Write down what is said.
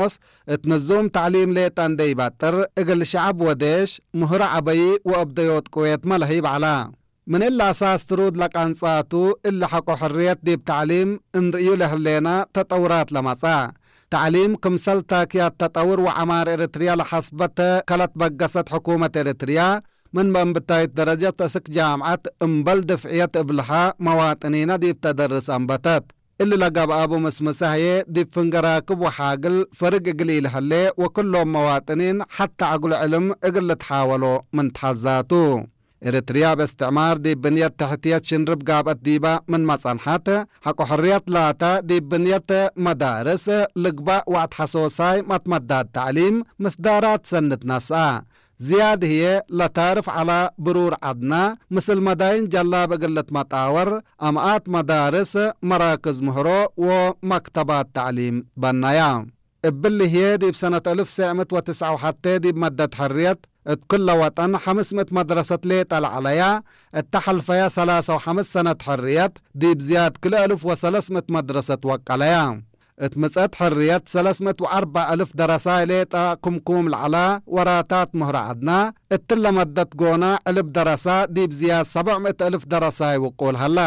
ሞስ እት ንዙም ተዕሊም ሌጣ እንደይባጥር እግል ሸዐብ ወዴሽ ምህሮ ዐበዪ ወእብ ደዮት ቅዌት መለህይ በዐላ። ምን እሊ አሳስ ትሩድ ለቃንጻቱ እሊ ሐቆ ሕርየት ዲብ ተዕሊም እንርእዩ ለህሌና ተጠውራት ለመጽአ። ተዕሊም ክምሰል ታክያት ተጠውር ወዐማር ኤረትርያ ለሐስበተ ከለት በገሰት ሕኩመት ኤረትርያ ምን በእንብታይት ደረጀት እስክ ጃምዐት እምበል ድፍዕየት እብልሃ መዋጥኒነ ዲብ ተደርስ አንበተት። እሊ ለገብአቡ ምስምሰ ህዬ ዲብ ፍንገ ራክብ ወሓግል ፈርግ እግል ኢልሀሌ ወክሎም መዋጥኒን ሐተ ዐግሎ ዕልም እግል ልትሓወሎ ምን ተሐዛቱ። ኤረትርያ እብ እስትዕማር ዲብ ብንየት ተሕትየት ሽንርብ ጋብአት ዲባ ምንመ ጸንሐት፣ ሐቆ ሕርየት ላታ ዲብ ብንየት መዳርስ ልግባእ ወአትሐሶሳይ መትመዳት ተዕሊም ምስዳራት ሰንት ነስአ። ዝያድ ህዬ ለታርፍ ዐላ ብሩር ዐድና፣ ምስል መዳይን ጀላብ እግል ልትመጣወር፣ አምኣት መዳርስ፣ መራክዝ ምህሮ ወመክተባት ተዕሊም በነያ። እብሊ ህዬ ዲብ ሰነት አልፍ ትሰዕ ምእት ወትስዓ ወሐቴ ዲብ መደት ሕርየት እት ክለ ወጠን ሐምስ ምእት መድረሰት ሌጠ ለዐለያ፣ እተ ሐልፈያ ሰላሳ ወሐምስ ሰነት ሕርየት ዲብ ዝያድ ክልኤ አልፍ ወሰለስ ምእት መድረሰት ወቀለያ። እት ምጸት ሕርየት ሰለስ ምእት ወአርበዕ አልፍ ደረሳይ ሌጠ ክምኩም ለዐላ ወራታት ምህሮ ዐድና፣ እትለ መደት ጎና ዕልብ ደረሳ ዲብ ዝያድ ሰብዕ ምእት አልፍ ደረሳይ ውቁል ሀላ።